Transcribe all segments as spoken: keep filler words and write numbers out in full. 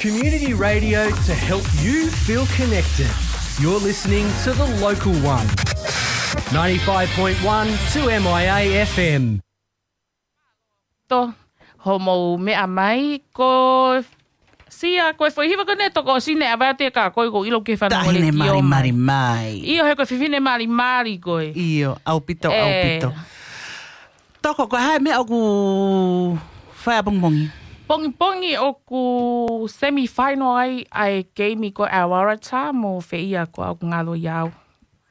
Community radio to help you feel connected. You're listening to The Local One. Ninety-five point one two M I A F M. Tō, hoʻomou meʻa mai, ko Sia, ko e foʻi hiva ko eni ʻa Tokosine, ʻa Vate ka ko i ko ilo ke fana Tahine mali mali mai. Io, he ko e fefine mali mali ko e. Io, ʻaupito, ʻaupito. Toko, ko e hā e meʻa ʻoku fai ʻapongipongi? Pongipongi ʻoku semifinal ai ʻa e keimi ko e ʻa Waratahs mo fē ia ko ʻoku ngalo ia au.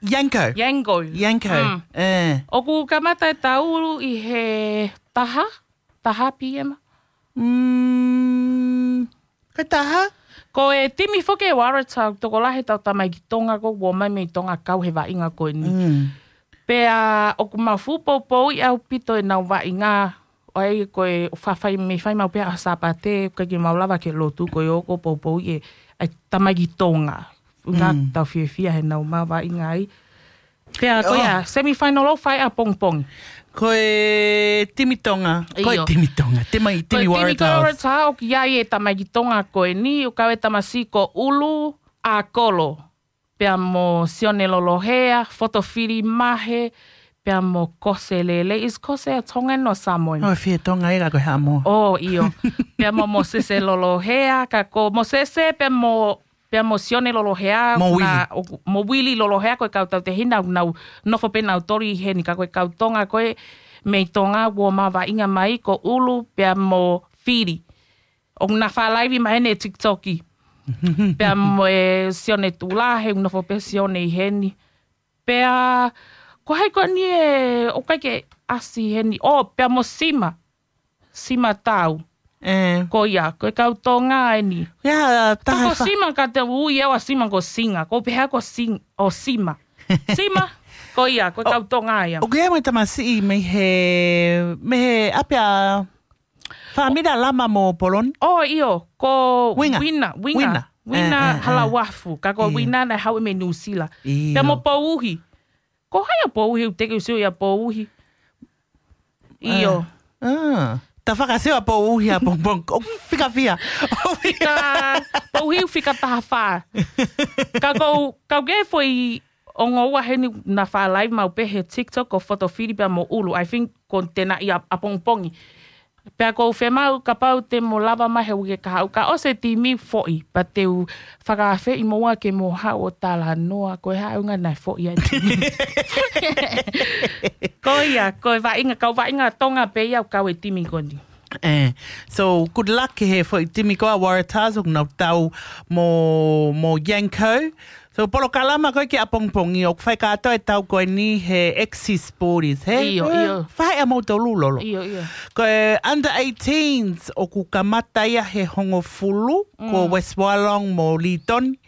Yanco. Yanco. Yanco. Mm. ʻE. ʻOku kamata e tau ʻi he taha, taha P M. Mm. Ko e taha? Ko e timi foki ʻa Waratahs, tokolahi ʻetau tamaiki Tonga ko ē ʻoku ō mai mei Tonga kau he vaʻinga ko eni. Mm. Pea ʻoku mau fuʻu poupouʻi ʻaupito ʻenau vaʻinga, ʻo ai ko e fafai mei fai mau pē ʻa Sāpate, ʻikai ke mau lava ke lotu ko e ʻoku poupouʻi ʻe, ʻa e tamaiki Tonga. Nga tau fiefia he nau mau vaʻinga ai. Pea ko ia, semifinal ʻoku fai ʻapongipongi. Ko e timi Tonga, ko e timi Tonga, timi, timi Waratahs. Ko e timi Waratahs ʻoku ʻi ai e tamaiki Tonga ko eni, ʻoku kau e tamasiʻi ko ʻUlu ʻa Kolo. Pea mo Sione Lolohea, Fotofili Mahe, pea mo Kose Lele. Is Kose a Tongan or Samoan? ʻO fē Tonga ʻi ka ko e Haʻamoa. ʻO, io. Pea mo Mosese Lolohea, ka ko Mosese, pea mo, pea mo Sione Lolohea, mo Uili. Mo Uili Lolohea, ko e kau tautehina, nau nofo pē nautolu ʻi heni, ka ko e kau Tonga, ko e mei Tonga, ʻoku mau vaʻinga mai, ko ʻUlu, pea mo Fili. ʻOku na fālaivi mai heni e TikTok. Pea mo e Sione Tula, he ʻoku nofo pē Sione ʻi heni. Pea, ko hai ko eni e, ʻoku ʻikai ke ʻasi heni. ʻO, pea mo Sima. Sima Tau. ʻE. Ko ia, ko e kau Tonga eni. Ia, taha ko Sima ka te ui ʻe au ʻa Sima ko Singa. Ko pehē ko Sing, ʻo Sima. Sima, ko ia, ko e kau Tonga ia. ʻOku ʻi ai mo e tamasiʻi mei he, mei he ʻapi ʻa Fāmili ʻa Lama mo Poloni? ʻO, ʻio, ko Uinga. Uina, Uinga. Uina. Uina Halauafu, ka ko Uina naʻe haʻu mei Nuʻusila. ʻIo. Pea mo Pouhi. Ko hai ʻa Pouhi, ʻoku teʻeki ke u sio ʻia Pouhi. ʻIo. ʻA. Ta fakasio ʻa Pouhi ʻapongipongi. ʻOku fika fiha. Fika, Pouhi ʻoku fika taha fā. Ka ko, ka ko e foʻi ongo ua heni na fālaivi mau pē he TikTok ko Fotofili pea mo ʻUlu. I think ko tena ia ʻapongipongi. Pea ko u femau kapau te mo lava mai he uike kahaʻu ka ʻosi e timi foʻi. Pea te u fakaafeʻi mo ua ke mo haʻu ʻo talanoa. Ko e haʻu ngana e foʻi ʻa e timi. Ko ia, ko e vaʻinga, kau vaʻinga Tonga pē ia ʻoku kau e timi ko eni. ʻE, so good luck ki he foʻi timi ko ʻa Waratahs ʻoku nau tau mo, mo Yanco. So polokalama ko ē ki ʻapongipongi ʻoku fai kātoa e tau ko eni he Axis Sports, he? ʻIo, ʻio. Fai ʻa moutolu Lolo. ʻIo, ʻio. Ko e under eighteens ʻoku kamata ia he hongofulu, ko West Wollongong mo Leeton.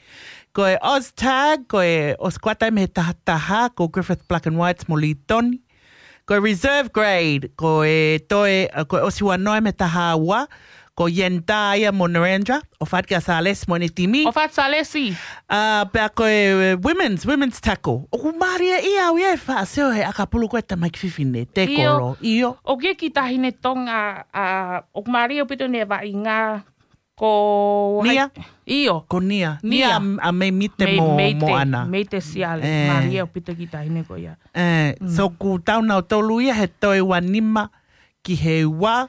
Ko e Oztag, ko e ʻosi kuata mei he taha taha, ko Griffith Black and Whites mo Leeton. Ko e reserve grade, ko e toe, ko e ʻosi ua noa mei he taha ua, ko Yenta ia mo Narendra, ʻo fati ka Salesi mo ʻene timi. ʻO fati Salesi. ʻA, pea ko e women's, women's tackle. ʻOku mālie ia au ia e faʻa sio he ʻakapulu ko e tamaiki fefine, te kolo. ʻIo. ʻOku ʻi ai e kiʻi taʻahine Tonga, ʻa, ʻoku mālie ʻaupito ʻene vaʻinga, ko Nia? ʻIo. Ko Nia. Nia. Nia ʻa, ʻa Mei Mite mo, mo Ana. Mei Mite Siale. Mālie ʻaupito e kiʻi taʻahine ko ia. ʻE, so ʻoku tau nautolu ia he toe ua nima ki he ua.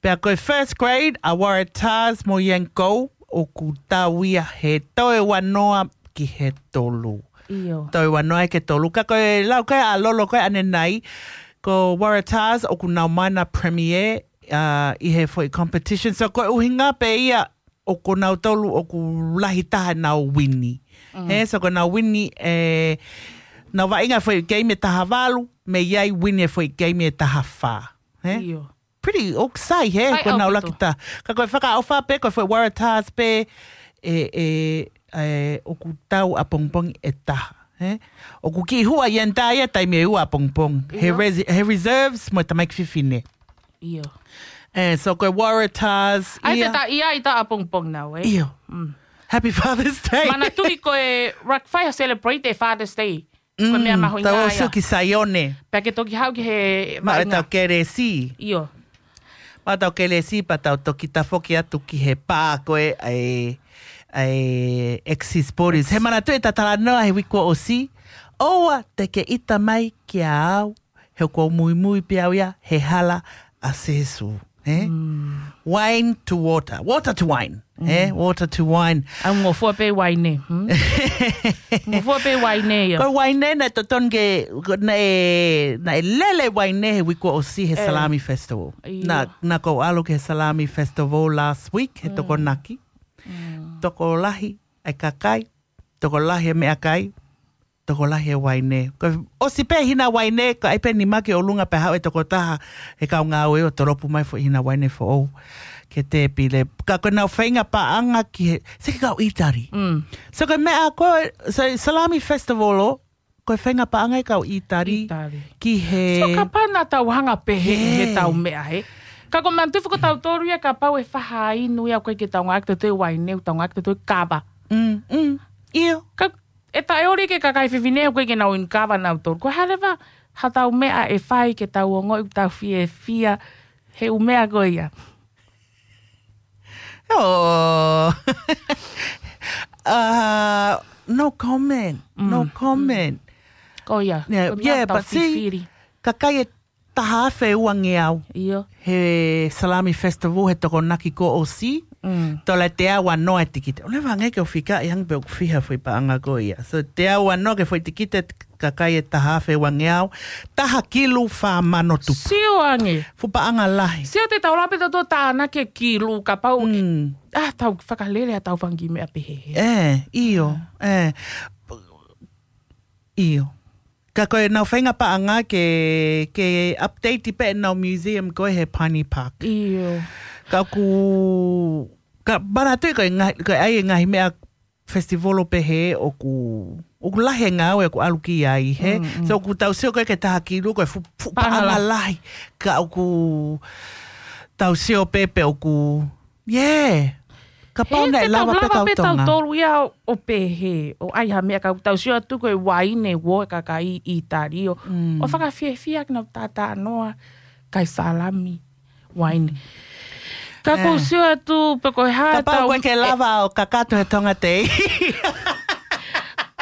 Pea ko e first grade, ʻa Waratahs mo Yanco, ʻoku tau ia he toe ua noa ki he tolu. ʻIo. Toe ua noa ki he tolu. Ka ko e lau ko ē ʻa Lolo ko ē ʻanenai, ko Waratahs ʻoku nau mai ʻa e premier, ʻa, ʻi he foʻi competition. So ko e ʻuhinga pē ia ʻoku nautolu ʻoku lahi taha ʻenau wini. He, so ko ʻenau wini, ʻe, nau vaʻinga foʻi keimi ʻe taha valu, mei ai wini e foʻi keimi ʻe taha fā. He? ʻIo. Pretty ʻoku sai, he, ko ʻenau laki taha. Ka ko e fakaʻofa pē, ko e foʻi Waratahs pē, ʻe, ʻe, ʻe, ʻoku tau ʻapongipongi ʻe taha. He? ʻOku kiʻi hua Yenta ia taimi ʻe ua ʻapongipongi. He, he reserves mo e tamaiki fefine. ʻIo. ʻE, so ko e Waratahs, ʻai ia. Te ta ia ʻi ta ʻapongipongi nau, ʻe? ʻIo. Happy Father's Day. Manatuʻi ko e rak fai ha celebrate e Father's Day. Ko e meʻa mahuʻinga ia. Tau ʻosi ki Saione. Pea ke toki haʻu ki he vaʻinga. Tau keresi. ʻIo. Pea tau kelesi, pea tau toki tafoki atu ki he pā ko ē ʻa e, ʻa e Axis Borders. He manatuʻi ʻeta talanoa he uike kuo ʻosi, ʻoua te ke ʻita mai kia au, he ʻoku ou muimui pē au ia he hala ʻa Sēsū. He? Wine to water, water to wine. He? Water to wine. ʻOku ngofua pē uaine. Hmm? Ngofua pē uaine ia. Ko e uaine naʻe totonu ke, ko, naʻe, naʻe lele uaine he uike kuo ʻosi he Salami Festival. ʻIo. Naʻa, naʻa ku ʻalu ki he Salami Festival last week, he Tokonaki. Tokolahi ʻa e kakai, tokolahi ʻa e meʻakai, tokolahi ʻa e uaine. Ko e ʻosi pē hina uaine, ko e ʻai pē nima ki ʻolunga pea haʻu e tokotaha he kau ngāue ʻo tolopu mai foʻi hina uaine foʻou ki he tēpile. Ka ko ʻenau feinga paʻanga ki he, sio ki he kau ʻĪtali. Mm. So ko e meʻa ko e, so Salami Festival ʻo, ko e feinga paʻanga e kau ʻĪtali. ʻĪtali. Ki he So kapau naʻa tau hanga pehē he tau meʻa he. Ka ko e manatuʻi foki ʻo tautolu ia kapau ʻe fahainu ia ʻoku ʻikai ke tau ngāueʻaki ʻe tautolu e uaine, ʻoku tau ngāueʻaki ʻe tautolu e kava. Mm, mm. ʻIo. Ka ʻe taʻeoli ke kakai fefine ʻoku ʻikai ke nau inu kava nautolu. Ko e hā leva ha tau meʻa ʻe fai ke tau ongoʻi ʻoku tau fiefia he ʻū meʻa ko ia. Oh. Uh, no comment. No comment. Ko ia. Yeah, ko e meʻa yeah, tau but see, fifili. Kakai ʻe taha afe uangeau. ʻIo. He Salami Festival, he Tokonaki kuo ʻosi. Mm. Tola teau uanoa e tikite. ʻOua leva ange ke u fika ʻi hanga pē ʻoku fiha foʻi paʻanga ko ia. So teau uanoa ke foʻi tikite kakai ʻe taha afe uangeau. Taha kilu fā mano tupu. Sio ange. Fuʻu paʻanga lahi. Sio te tau lave pē tautolu tānaki e kilu kapau. Mm. Ah, tau fakalele ʻa tau fanga kiʻi meʻa pehē. Eh, ʻio. Eh. ʻIo. Ka ko ʻenau feinga paʻanga ke, ke update pē ʻenau museum ko ē he Pine Park. ʻIo. Ka ʻoku, ka manatuʻi ko e ngaahi, ko e ʻai e ngaahi meʻa festival ʻo pehē ʻoku, ʻoku lahi e ngāue ʻoku ʻalu ki ai he. Mm, mm. So ʻoku tau sio ko ē ki he taha kilu ko e fuʻu, fuʻu paʻanga lahi. Ka ʻoku tau sio pē pe ʻoku Yeah. Kapau naʻe lava pē kau Tonga. Tautolu ia ʻo pehē, ʻo ʻai ha meʻa ka ʻoku tau sio atu ko e uaine ʻoku ʻi he kakai ʻĪtali ʻo. Mm. ʻO fakafiefia ke nau tātānoa, kai Salami, uaine. Ka ʻoku ou sio atu, pe ko e hā Kapau tau ʻoku ʻikai ke lava ʻo kakato he Tonga Tei.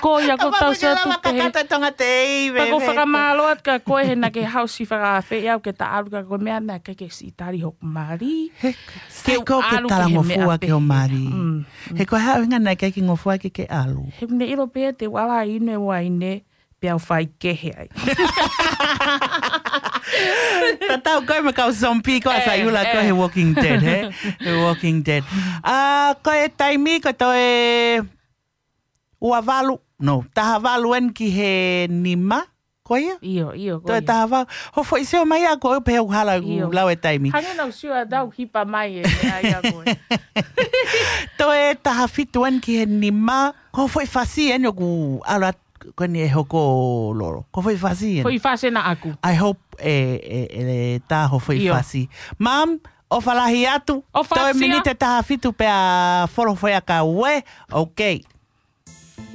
Ko ia ʻoku tau sio atu pē. Kapau ʻoku ʻikai ke lava kakato he Tonga Tei, Pea ʻoku ou fakamālō atu kia koe he naʻa ke haʻu ʻo siʻi fakaafeʻi au ke ta ʻalu ka ko e meʻa naʻe ʻikai ke siʻi tali hoku mali. He, sai ko e talangofua ki hoʻo mali. Mm, mm. He ko e hā e ʻuhinga naʻe ʻikai ke ngofua ke ke ʻalu. He ʻoku ne ʻilo pē te u ʻalu ʻo inu e uaine, pea u faikehe ai. Tatau ko e meʻa kau zombie ko ē ʻa e ula ko e he Walking Dead, he? He Walking Dead. ʻA, ko e taimi ko e toe ua valu, no, taha valu eni ki he nima, ko ia? ʻIo, ʻio, ko ia. Toe taha valu. Hoʻo foʻi sio mai ʻaʻaku ʻo pehē ʻoku hala ʻeku lau e taimi. Hangē naʻa ku sio atu ʻoku hipa mai e meʻa ia ko ē. Toe taha fitu eni ki he nima, ko hoʻo foʻi fasi eni ʻoku ʻalu atu ko eni ʻe hoko lolo. Ko hoʻo foʻi fasi eni. Foʻi fasi ena ʻaʻaku. I hope ʻe, ʻe, ʻe tā hoʻo foʻi fasi. Mum, ʻofa lahi atu. ʻOfa atu ia. Toe miniti ʻe taha fitu pea folo foʻi ʻakau ē. Okay.